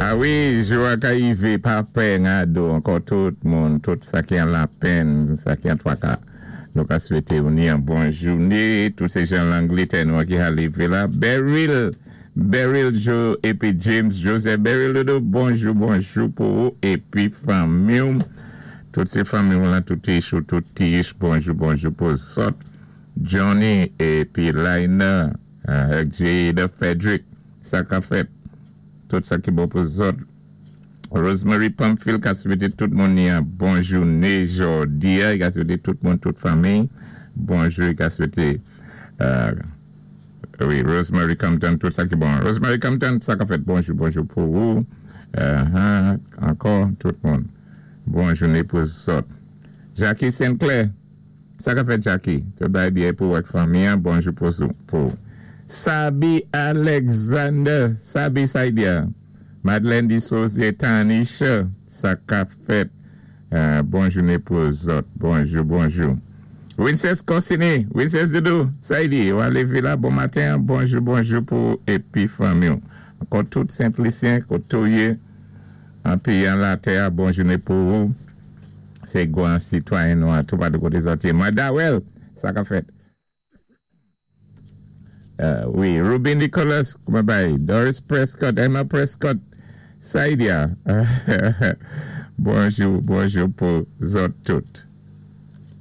A wi, jou a ka yivé, pa pè ngado ankò tout moun, tout sa ki an lapenn, sa ki an twaka. Nou ka swété ou ni an bon jouné, tout sé jan Langlétè nou an ki ha lévé la. Beryl, Beryl Jo épi James Joseph Beryl Dodo, bonjou bonjou pou ou épi fanmi-w. Tout sé fanmi-w lan, tout ich ou tout ti ich, bonjou bonjou pou zòt. Johnny épi Laina ak Jada Frederick, sa ka fèt? Tout sa ki bon pou zòt. Rosemary Pamphile ka swété tout moun ni an bon jouné jòdi-a, i ka swété tout moun, tout fanmiy bonjou, i ka swété wi Rosemary Compton tout sa ki bon. Rosemary Compton sa ka fèt? Bonjou bonjou pou ou ankò tout moun bon jouné pou zòt. Jackie Sinclair. Sa ka fèt Jacky? Tout bagay byen pou ou ak fanmi an, bonjou pou ou. Sabi Alexander, Sabi Saidia, Madeleine Dissosier, Tanisha, sa ka fèt? Bon jouné pou zòt, bonjou bonjou. Wincess Consigny, Wincess Doudou, Saidi, wa lévé la bon maten an, bonjou bonjou pou ou épi fanmi w. Ankò tout Sent Lisyen koté w yé an péyi an latè a, bon jouné pou ou. Se gwan sitwayen nou an toupatou kote zòt ye. Mwen Dawel! Sa ka fèt? Wi, Ruby Nicholas, kouman bay? Doris Prescott, Emma Prescott, Saidia. Bonjou, bonjou pou zòt tout.